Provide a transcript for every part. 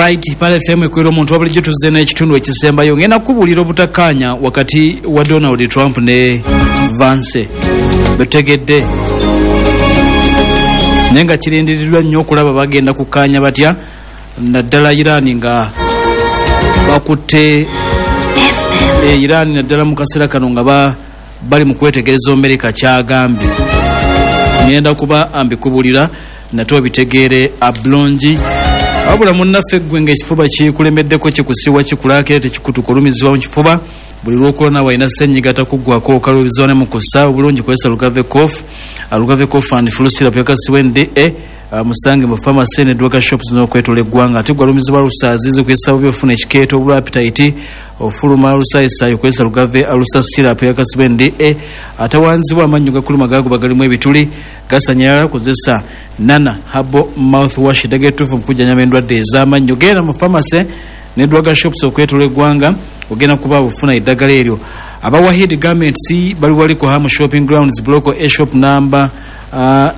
Alright, Pearl FM ekwera omuntu wabulijjo. Tuzze n'ekitundu ekisembayo. Ngenda kukubuulira obutakkaanya wakati wa Donald Trump ne Vance betutegedde, naye nga kirindiriddwa nnyo okulaba bagenda kukkaanya batya, naddala Iran nga bakutte Iran, naddala mu kaseera kano nga bali mu kwetegereza Amerika kyagambye. Ngenda kuba ambikubulira nate obitegeere abulungi. Wabula munnaffe ggwe ng'ekifuba kikulemeddeko, kikusiwa, kikulaakira, tekikutuka, olumizibwa mu kifuba buli lwokulona, walina ssenyiga takuggwako, okalubizibwa ne mu kussa obulungi, kozesa Lugave Cough, Lugave Cough and Flu Syrup yakasibwa NDA. Musange mu pharmacy ne drug shops n'okwetola eggwanga. Ate gwalumizibwa lusaazizi, okuyisa bubi, ofuna ekikeeto, obulwa appetite, ofuluma lusaayisayi, okozesa Lugave Ulcer Syrup yakasibwa NDA. Atawanzibwa amannyo gakuluma, gaguba, galimu ebituli, gasanyalala, kozesa Nana Herbal Mouthwash, eddagala ettuufu mu kujjanjaba endwadde ez'amannyo. Genda mu pharmacy ne drug shops okwetola eggwanga, ogenda kuba ofuna eddagala eryo. Aba Wahid Garments bali wali ku Ham Shopping Grounds, Block A, shop number A,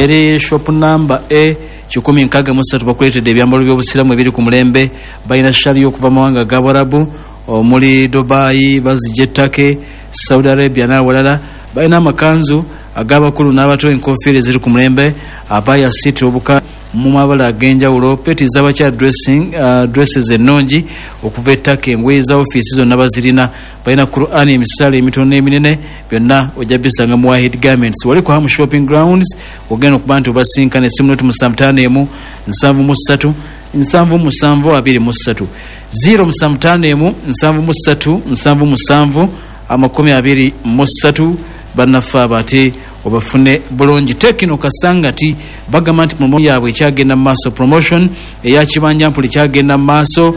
eri shop number A 163. Bakuleetedde ebyambalo by'obusiraamu ebiri ku mulembe. Balina shali okuva mawanga ga Bwarabu omuli Dubai, bazijja ettake Saudi Arabia n'awalala. Balina amakanzu ag'abakulu n'abato, enkofiira eziri ku mulembe, abaya city obuka mu mabala ag'enjawulo, peti z'abakyala, dressing dresses ennungi okuva ettaka, engoye za ofiisi zonna bazirina. Balina Quran, emisaala emitono n'eminene, byonna ojja bisanga mu Wahid Garments wali ku Ham Shopping Grounds. Ogenda okuba nti obasinkana. Essimu noti 751 73 77 23, 0751 73 77 23. Bannaffe abo ate obafune bulungi. Tecno Kasangati bagamba nti promo yaabwe ekyagenda mu maaso, promotion eya kibanja mpuli kyagenda mu maaso.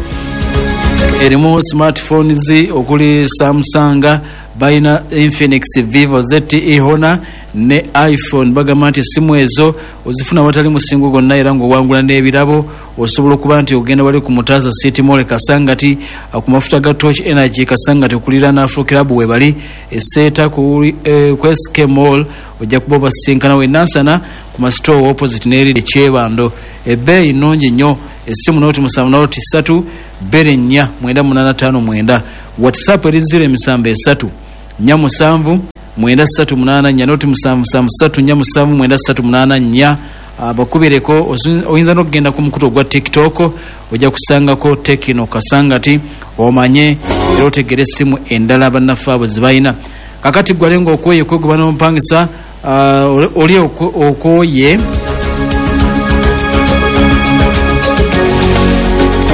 Erimu smartphones okuli Samsung, balina Infinix, Vivo, ZTE, Honor ne iPhone. Bagamba nti essimu ezo ozifuna watali musingo gwonna era ng'owangula n'ebirabo. Osobola okuba nti ogenda wali ku Mutaza City Mall Kasangati, ku mafuta ga Torch Energy Kasangati, okuliraana Afro Club webali. Eseeta ku SK Mall ojja kuba obasinkana. Wenansana ku masitoo opposite n'eri ekyebando. Ebbeeyi nnungi nnyo. Essimu noti 7 noti 3 2 4 9 8 5 9. WhatsApp eri 0 7 3 4 7 9 3 8 4, noti 7 7 3 4 7 9 3 8 4. Bakubireko. Oyinza n'okugenda ku mukutu ogwa TikTok, ojja kusangako Tecno Kasangati, omanye era otegere essimu endala bannaffe abo zebalina. Kakati gwale ngaokwoye kwegoba n'omupangisa, oli okwoye,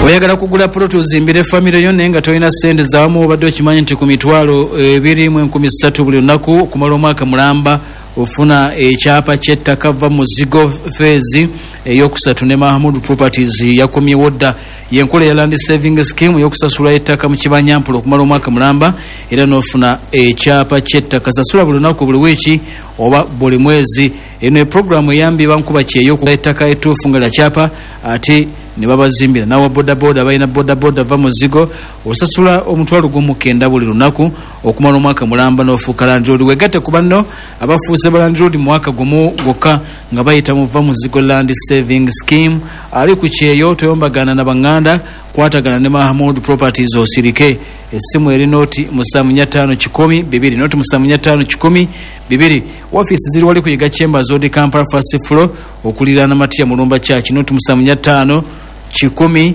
oyagala kugula poloti ozimbire famire yo naye nga tolina sente zawamu, obadde okimanyi nti ku 23,300 buli lunaku okumala omwaka mulamba ofuna ekyapa ky'ettaka? Va muzigo phase eyokusatu ne Mahamud Properties yakomyewo dda. Yenkola ya land saving scheme yokusasula ettaka mu kibanyampola okumala omwaka mulamba era n'ofuna ekyapa ky'ettaka. Sasula buli lunaku, buli wiiki oba buli mwezi. Eno epuroguramu eyambye bankuba kyeyo ettaka ettuufu nga lyakyapa ate ne babazimbira. Nawa bodaboda, balina bodaboda. Va muzigo, osasula 190,000 buli lunaku okumala omwaka mulamba n'ofuuka landlord. Wegatte ku banno abafuuse ba landlord mu mwaka gumu gwokka nga bayita mu Va Muzigo Land Saving Scheme. Ali ku kyeyo, toyombagana na baŋŋanda, kwatagana ne Mahamud Properties osirike. Essimu eri noti 745 100 2, noti 745 100 2. Ofiisi ziri wali kuyiga Chambers Road, Kampala, first floor, okuliraana Matia Mulumba Church, noti 745 100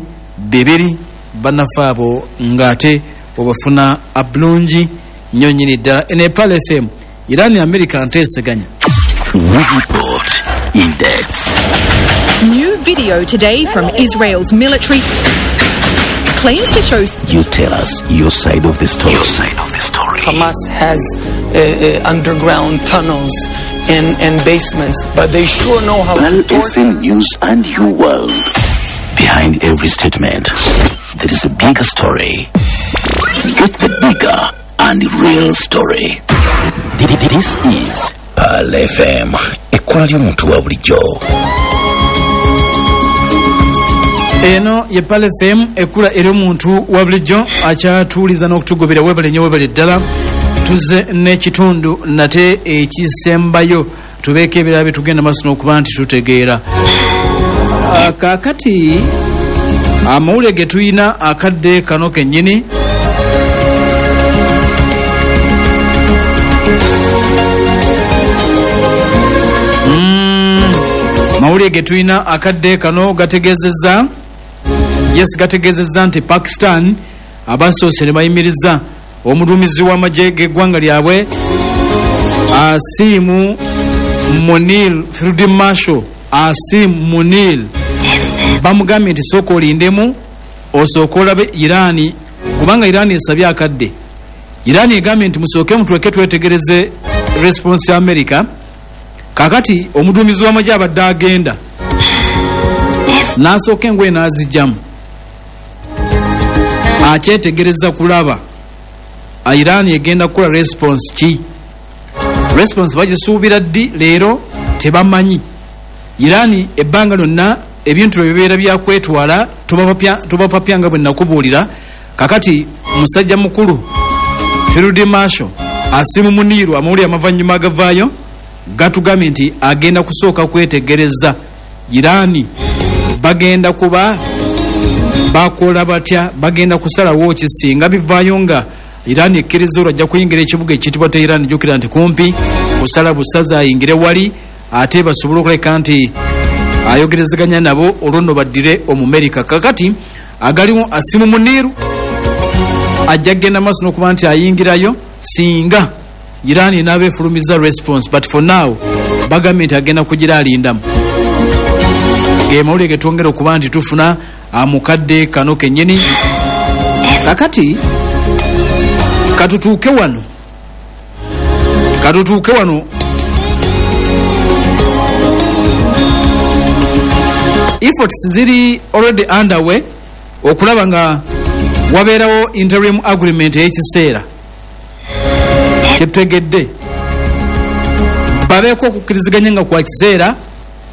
2. Bannaffe abo ng'ate obafuna abulungi nnyo nnyini ddala. Eno e Pearl FM. Iran, America nteeseganya. We report in depth. New video today from Israel's military claims to show You tell us your side of the story. Your side of the story. Hamas has underground tunnels and basements, but they sure know how Pearl to torture. FM News and your world. Behind every statement, there is a bigger story. Get the bigger and real story. This is Pearl FM. Ekkola ly'omuntu wa bulijjo. Eno ye Pearl FM, ekkula eri omuntu wa bulijjo akyatuuliza n'okutugobera. Webale nnyo, webale ddala. Tuzze n'ekitundu nate ekisembayo, tubeeko ebirala byetugenda maaso n'okuba nti tutegeera. Kaakati amawulire ge tulina akadde kano kennyini, mawulire ge tulina akadde kano gategeezezza, yes, gategeezezza nti Pakistan abasoose ne bayimiriza omuduumizi w'amagye g'eggwanga lyabwe Asim Munir, Field Marshal Asim Munir. Bamugambye nti sooka olindemu, osooke olabe Irani, kubanga Irani esabye akadde. Irani egambye nti musooke mutweke twetegereze response ya America. Kakati omuduumizi w'amagye abadde agenda n'asooka engoye n'azijjamu, akyetegereza kulaba Iran egenda kukola response ki. Response bagisuubira ddi? Leero tebamanyi. Iran ebbanga lyonna ebintu bibeera byakwetwala, tubapapya nga bwe nakubuulira. Kakati musajja mukulu Field Marshal Asim Munir, amawulire amavannyuma agavaayo gatugambye nti agenda kusooka kwetegereza Iran bagenda kuba bakola batya, bagenda kusalawo ki singa bivaayo nga Iran ekkiriza olwo ajja kuyingira ekibuga ekiyitibwa Tehran. Jjukira nti kumpi kusala busaza ayingire wali, ate basobole okuleka nti ayogerezeganya nabo, olwo nno baddire Omumerika. Kakati agaliwo, Asimu Muniru ajja kgenda maaso n'okuba nti ayingirayo singa Iran enaaba efulumiza response, but for now bagambye nti agenda kugira alindamu. Ge mawulire ge twongera okuba nti tufuna mukadde kano kennyini. Kakati katutuuke wano, katutuuke wano. Efforts ziri already underway okulaba nga wabeerawo interim agreement ey'ekiseera kyetutegedde, babeeko okukkiriziganya nga kwa kiseera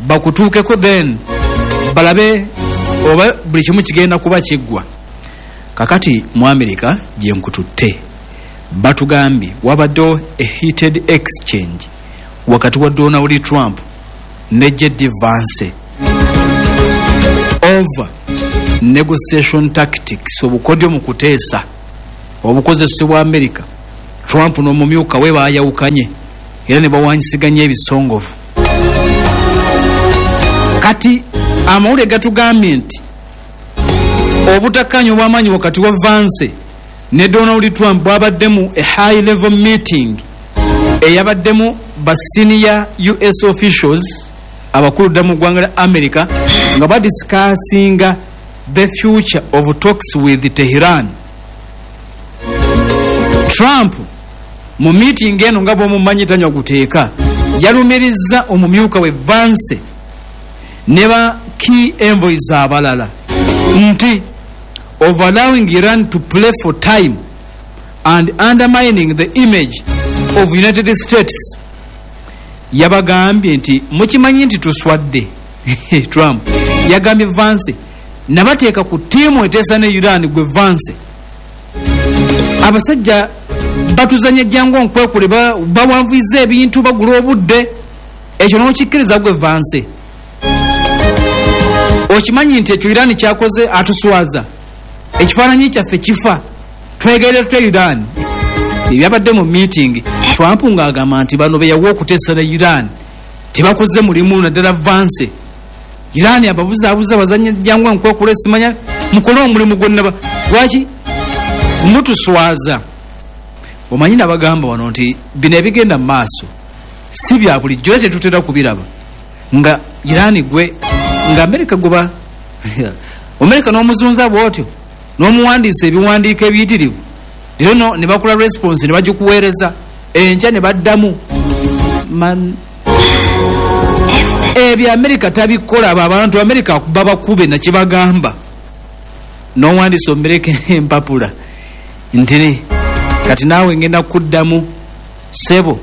bakutuukeko, then balabe oba buli kimu kigenda kuba kiggwa. Kakati mu America gye nkututte, batugambye wabaddewo a heated exchange wakati wa Donald Trump ne JD Vance over negotiation tactics, obukodyo mu kuteesa obukozesebwa America. Trump n'omumyuka we baayawukanye era ne bawanyisiganya ebisongovu. Kati amawulire gatugambye nti obutakkaanya obw'amaanyi wakati wa Vance ne Donald Trump bwabaddemu a high level meeting eyabaddemu ba senior US officials, abakulu dda mu ggwanga lya America, nga badiscussinga the future of talks with Tehran. Trump mu meeting eno, nga bw'omumanyi tanywa guteeka, yalumiriza omumyuka we Vance ne ba key envoys abalala nti of allowing Iran to play for time and undermining the image of United States. Yabagambye nti mukimanyi nti tuswadde. Trump yagambye Vance, nabateeka ku ttiimu eteesa ne Iran, gwe Vance, abasajja batuzanya jangu nkwekule, bawanvuiza ebintu, bagula obudde, ekyo n'okikkiriza gwe Vance? Okimanyi nti ekyo Iran kyakoze atuswaza, ekifaananyi kyaffe kifa, twegerera tutya Iran? Ebyabadde mu meeting, Trump ng'agamba nti bano be yawa okuteesa ne Iran tebakoze mulimu, naddala Vance. Iran ababuzaabuza, bazanya jangu nkwekula, simanya mukole omulimu gwonna, lwaki mutuswaza? Omanyi nabagamba wano nti bino ebigenda mu maaso si bya bulijjo, era tetutera kubiraba nga Iran gwe nga Amerika goba Amerika n'omuzunza bw'otyo n'omuwandiisa ebiwandiiko ebiyitirivu, leero no ne bakola response ne bagikuweereza enkya ne baddamu. Man, ebyo Amerika tabikola. Abo abantu Amerika babakube nakibagamba. N'owandiisa omereka empapula nti kati naawe ngenda kuddamu sebo,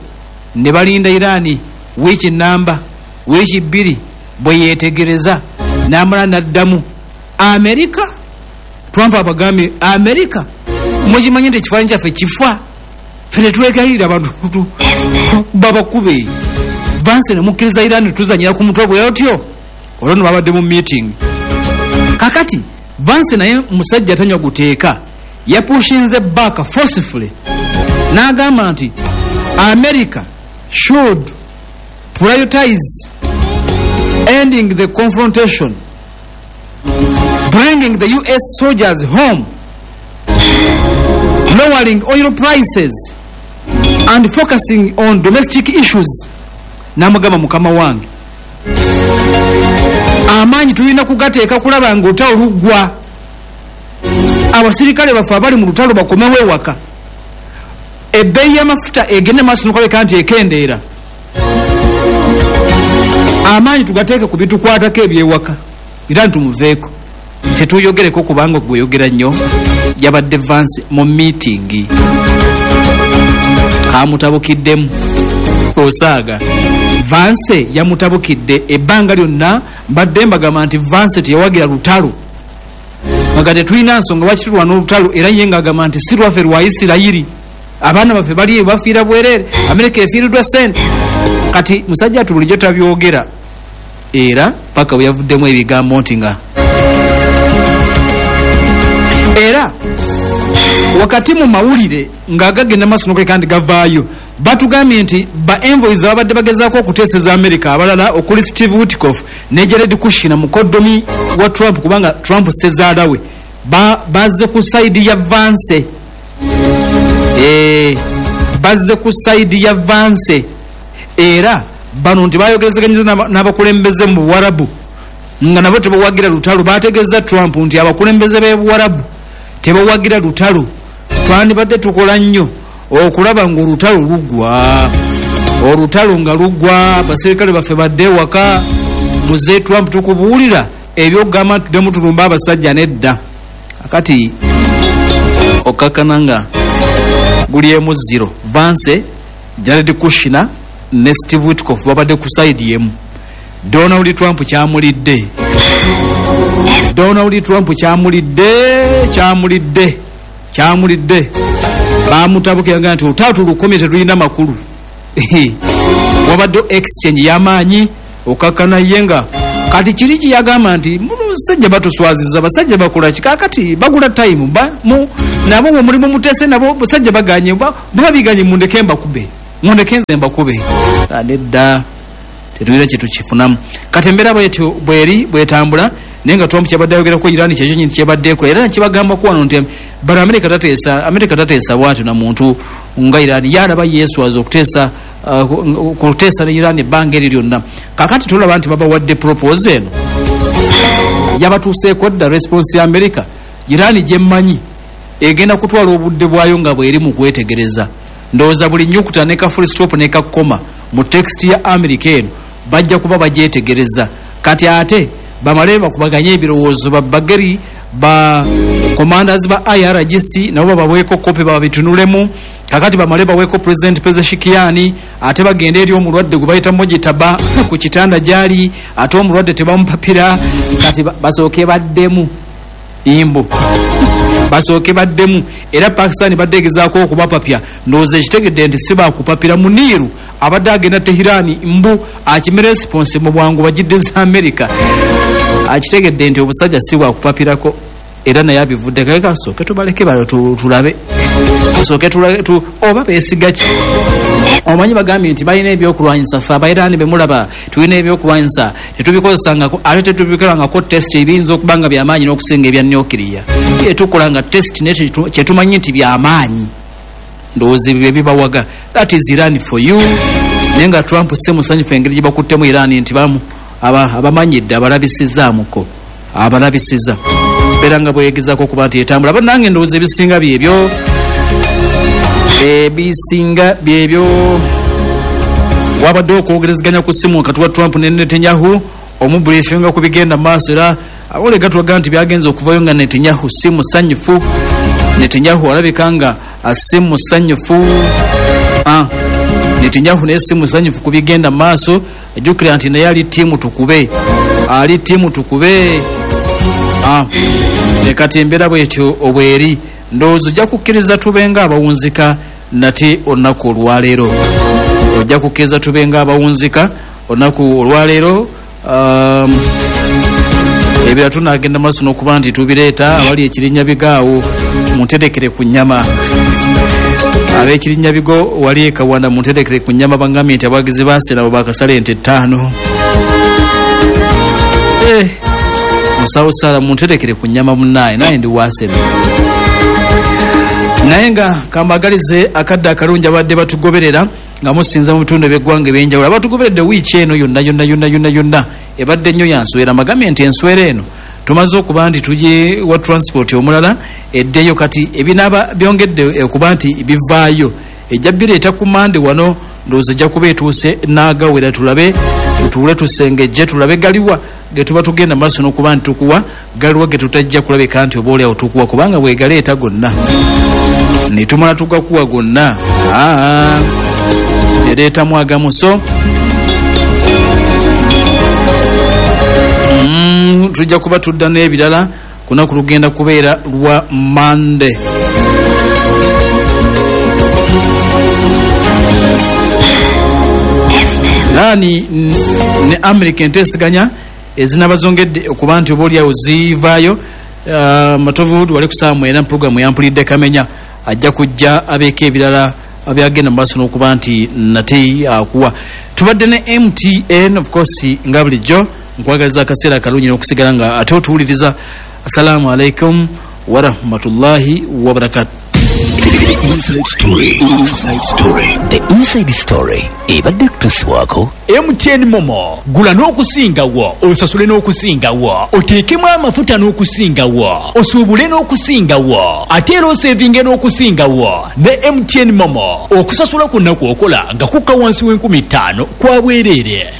ne balinda Irani wiiki namba, wiiki 2, bwe yeetegereza n'amala n'addamu Amerika. Trump abagambye, Amerika mukimanyi nti ekifaananyi kyaffe kifa, ffe tetwegayirira abantu babakube. Vance ne mukkiriza Irani tuzanyira ku mutwe bwe otyo? Olwo nno babadde mu meeting. Kakati Vance naye musajja tanywa guteeka, yapushinze back forcefully n'agamba nti America should prioritize ending the confrontation, bringing the US soldiers home, lowering oil prices and focusing on domestic issues. Namugamba, mukama wange, amaanyi tulina kugateeka kulaba nga olutalo luggwa, abasirikale baffe abali mu lutalo bakomewo ewaka, ebbeeyi y'amafuta egende maaso nokulabika nti ekendeera, amaanyi tugateeke ku bitukwatako ebyewaka, era ntumuveeko tetuyogereko kubanga gweyogera nnyo. Yabadde Vance mu meeting, kamutabukiddemu osaaga. Vance yamutabukidde. Ebbanga lyonna mbadde mbagamba nti Vance teyawagira lutalo, nga tetulina nsonga lwaki tulwana olutalo, era ye ng'agamba nti si lwaffe, lwa Isirayiri, abaana baffe bali eyo bafiira bwereere, Amerika efiiriddwa sente. Kati musajja atu bulijjo tabyogera, era paka bwe yavuddemu ebigambo nti nga era wakati mu mawulire ng'agagenda maaso nokuleka nti gavaayo, batugambye nti ba envoys ababadde bagezaako okuteeseza America abalala okuli Steve Witkoff ne Jared Kushner, mukoddomi wa Trump, kubanga Trump sezaala we, bazze ku side ya Vance. Bazze ku side ya Vance, era bano nti bayogerezeganyiza n'abakulembeze mu Buwarabu nga nabo tebawagira lutalo. Bategeeza Trump nti abakulembeze b'Ebuwarabu tebawagira lutalo, twandibadde tukola nnyo okulaba ng'olutalo luggwa, olutalo nga luggwa, abaserikale baffe badde ewaka. Muze Trump, tukubuulira ebyokugamba nti tuddemu tulumba abasajja nedda. Akati okkakkana nga guli emu zero. Vance, Jared Kushner ne Steve Witkoff babadde ku side emu. Donald Trump kyamulidde, Donald Trump kyamulidde, kyamulidde, kyamulidde. Bamutabukira nti olutalo tulukomye, tetulina makulu. Wabadde exchange y'amaanyi, okakkana ye nga kati kiri kiyagamba nti musajja batuswaziza, basajja bakola ki? Kakati bagula time nabo bwe mulimu mutese nabo basajja baganye, baba biganye, mundeke mbakube, mundeke nze mbakube. Nedda, tetulina kyetukifunamu. Kati embeera bwetyo bweri bwetambula, naye nga Trump kyabadde ayogerako Iran kyekyo nyini kyebadde ekola, era nakibagambako wano nti bano Amerika tateesa, Amerika tateesa bwatyo na muntu nga Iran. Yalaba yeeswaza okuteesa kuteesa ne Iran ebbanga eri lyonna. Kakati tulaba nti babawadde proposal eno, yabatuuseeko dda response ya America. Iran gyemmanyi egenda kutwala obudde bwayo nga bweri mu kwetegereza. Ndowooza buli nyukuta ne ka full stop ne ka comma mu text ya America eno bajja kuba bagyetegereza. Kati ate bamale bakubaganye ebirowoozo, babageri ba commanders ba IRGC nabo babaweeko kopi babitunulemu. Kakati bamale baweeko President Pezeshkian, ate bagende eri omulwadde gwe bayita Mojitaba ku kitanda gyali, ate omulwadde tebamupapira. Kati basooke baddemu imbo, basooke baddemu. Era Pakistan badde egezaako okubapapya, ndowooza ekitegedde nti si bakupapira. Muniiru abadde agenda Tehirani mbu akime response mu bwangu bagidde za America, akitegedde nti obusajja si bwakupapirako, era naye abivudde. Kale kasooke tubaleke balo tulabe, kasooke oba beesiga ki. Omanyi bagambye nti balina ebyokulwanyisa, ffe Abairani bemulaba tulina ebyokulwanyisa, tetubikozesangako ate tetubikolangako test, ebiyinza okuba nga byamaanyi n'okusinga ebya nuclear. Tukola nga test naye kyetumanyi nti byamaanyi. Ndowooza ebyo byebibawaga. That is Iran for you. Naye nga Trump si musanyufu engeri gye bakuttemu Iran, nti bamu abamanyidde, abalabisizaamuko, abalabisiza beera nga bwegezaako okuba nti etambula. Bannange, ndowooza ebisinga byebyo, ebisinga byebyo. Wabadde okwogerezeganya ku ssimu wakati wa Trump ne Netanyahu, omubriefinga ku bigenda maaso, era awole gatwaga nti byagenza okuvayo nga Netanyahu si musanyufu. Netanyahu alabika nga si musanyufu. Netanyahu naye si musanyufu ku bigenda maaso. Ajjukira nti naye ali team tukube, ali team tukube. Kati embeera bwetyo obweri, ndowooza ojja kukkiriza tube nga abawunzika nate olunaku olwaleero, ojja kukkiriza tube nga abawunzika olunaku olwaleero. Ebirala tunaagenda maaso n'okuba nti tubireeta. Awali ekirinyabigo awo munterekere ku nnyama, ab'ekirinyabigo wali ekawanda munterekere ku nnyama. Bangambye nti abawagizi ba Arsenal bakasala ente 5. Musawo Sala, munterekere ku nnyama munnaye, naye ndi wa Arsenal. Naye nga kambagalize akadde akalungi abadde batugoberera nga musinza mu bitundu ebyeggwanga ebyenjawulo, abatugoberedde wiiki eno yonna yonna yonna yonna yonna. Ebadde nnyo yanswera. Mbagambye nti enswera eno tumaze okuba nti tugye wa transport omulala eddeyo. Kati ebinaaba byongedde okuba nti bivaayo, ejja bireeta ku Mande wano. Ndowooza ejja kuba etuuse n'agawera. Tulabe, tutuule tusengejje, tulabe galiwa ge tuba tugenda maaso n'okuba nti tukuwa, galiwa ge tutajja kulabika nti oba oliawo tukuwa, kubanga bwegaleeta gonna ne tumala tugakuwa gonna, aa ereetamu agamu. So tujja kuba tudda n'ebirala kunaku lugenda kubeera lwa Mande. Nani ne America enteeseganya ezinaba zongedde okuba nti oba oliawo zivaayo. Matovu wali ku saawa 9, programu yampulidde kamenya ajja kujja abeeko ebirala byagenda mu maaso n'okuba nti nate akuwa. Tubadde ne MTN, of course, nga bulijjo nkwagaliza akaseera akalungi n'okusigala nga ate otuwuliriza. Assalamu alaikum warahmatullahi wabarakatu. The Inside Story. Inside Story. The Inside Story. Ebadde kutuusibwako MTN Momo. Gula n'okusingawo, osasule n'okusingawo, oteekemu amafuta n'okusingawo, osuubule n'okusingawo, ate era osevinge n'okusingawo ne MTN Momo. Okusasula kwonna kw'okola nga kukka wansi w'5,000 kwa bwereere.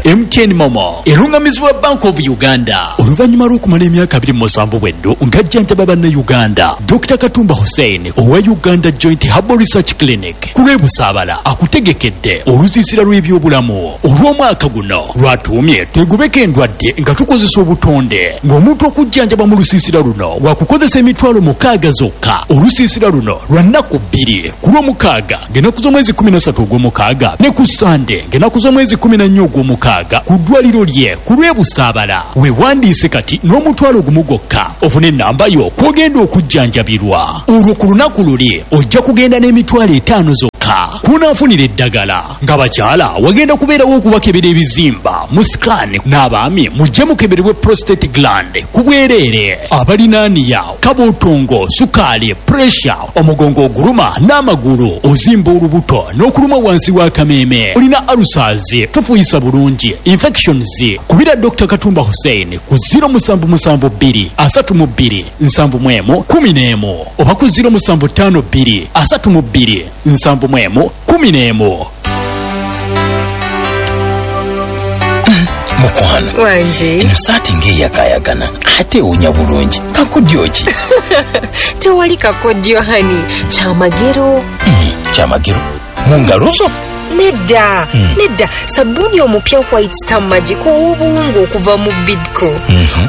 MTN Momo erungamizibwa Bank of Uganda. Oluvannyuma lw'okumala emyaka 27 bweddo ng'ajjanjaba Bannayuganda, Dr Katumba Hussein owa Uganda Joint Herbal Research Clinic ku lw'Ebusaabala akutegekedde olusiisira lw'ebyobulamu olw'omwaka guno lwatuumye "Twegobeko endwadde nga tukozesa obutonde", ng'omuntu okujjanjaba mu lusiisira luno wakukozesa 60,000 zokka. Olusiisira luno lwa nnaku 2, ku Lwomukaaga ng'ennaku z'omwezi 13 ogw'omukaaga ne ku Sande ng'ennaku z'omwezi 14 ogw'omukaaga ku ddwaliro lye ku lw'Ebusaabala. Weewandiise kati n'1,000 gwokka ofune ennamba yo kw'ogenda okujjanjabirwa. Olwo ku lunaku luli ojja kugenda n'50,000 zokka kunaafunira eddagala. Nga bakyala wagenda kubeerawo okubakebera ebizimba mu scan, n'abaami mujje mukeberebwe prostate gland ku bwereere. Abalina hernia, kabuutungo, sukaali, pressure, omugongo oguluma n'amagulu, ozimba olubuto n'okuluma wansi w'akameeme, olina ulcers, tufuyisa bulungi, infections, kubira Dr Katumba Hussein ku 0772 32 71 11 oba ku 0752 32 71 11. Mukwano. Wangi. Eno saati ng'eyakaayakana ate ewunya bulungi, kakodyo ki? Tewali kakodyo honey, kyamagero. Kyamagero mu ngalo zo? Nedda, nedda, sabbuuni omupya White Star Magic ow'obuwunga okuva mu Bidco.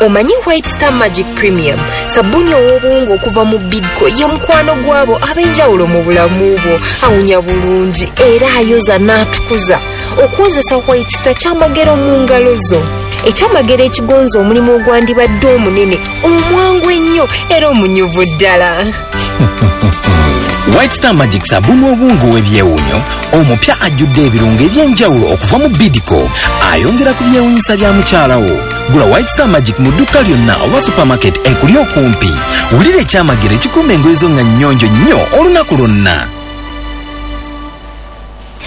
Omanyi White Star Magic Premium, sabbuuni ow'obuwunga okuva mu Bidco, ye mukwano gwabo ab'enjawulo mu bulamu bwo. Awunya bulungi era ayoza n'atukuza. Okwozesa White Star kyamagero mu ngalo zo, ekyamagero ekigonza omulimu ogwandibadde omunene, omwangu ennyo era omunyuvu ddala. White Star Magic, sabbuuni obuwunga ow'ebyewuunyo omupya ajjudde ebirungo eby'enjawulo okuva mu Bidco, ayongera ku byewuunyisa bya mukyala wo. Gula White Star Magic mu dduuka lyonna oba supermarket ekuli okumpi. Wulira ekyamagero ekikuuma engoye zo nga nnyonjo nnyo olunaku lwonna.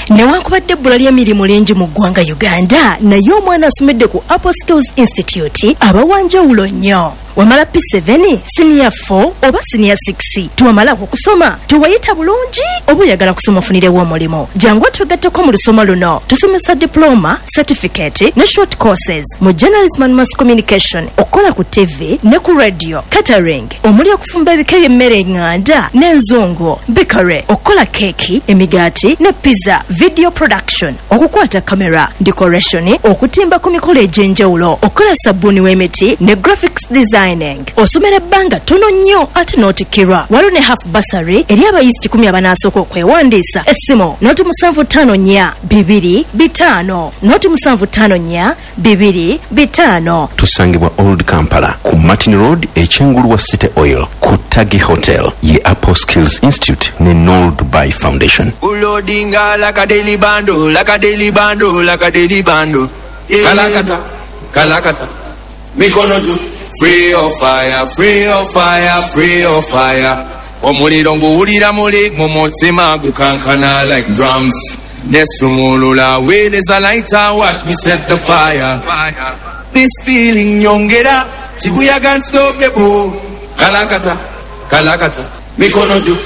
Newankubadde ebbula ly'emirimu lingi mu ggwanga Uganda, naye omwana asomedde ku Apple Skills Institute aba wanjawulo nnyo. Wamala P7, siniya 4 oba siniya 6, tewamalako okusoma, tewayita bulungi, oba oyagala kusoma ofunirewo omulimu, jangu otwegatteko mu lusoma luno. Tusomesa diploma, certificate ne short courses mu journalism and mass communication, okukola ku TV ne ku radio, catering omuli okufumba ebika by'emmere eŋŋanda n'enzungu, bakery, okukola keeki, emigaati ne pizza. Video production, okukwata kamera, decoration, okutimba ku mikolo egy'enjawulo, okukola sabbuuni w'emiti ne graphics designing. Osomera ebbanga ttono nnyo ate n'otikkirwa. Waliwo ne half bursary eri abayizi kikumi abanaasooka okwewandiisa. Essimu noti 754 2 5 noti 754 2 5. Tusangibwa Old Kampala ku Martin Road ekyengulu wa City Oil ku Taggy Hotel ye Apple Skills Institute ne Noel Dubai Foundation. Ulodinga like a daily bundle, like a daily bundle, like a daily bundle. Yeah. Kalakata, kalakata. Mikono juu. Free your fire, free your fire, free your fire. Omuliro nguwulira muli mu mutima gukankana like drums. Nesumulula weereza lighter, watch me set the fire. This feeling nyongera, kibuyaga unstoppable. Kalakata, kalakata. Mikono juu.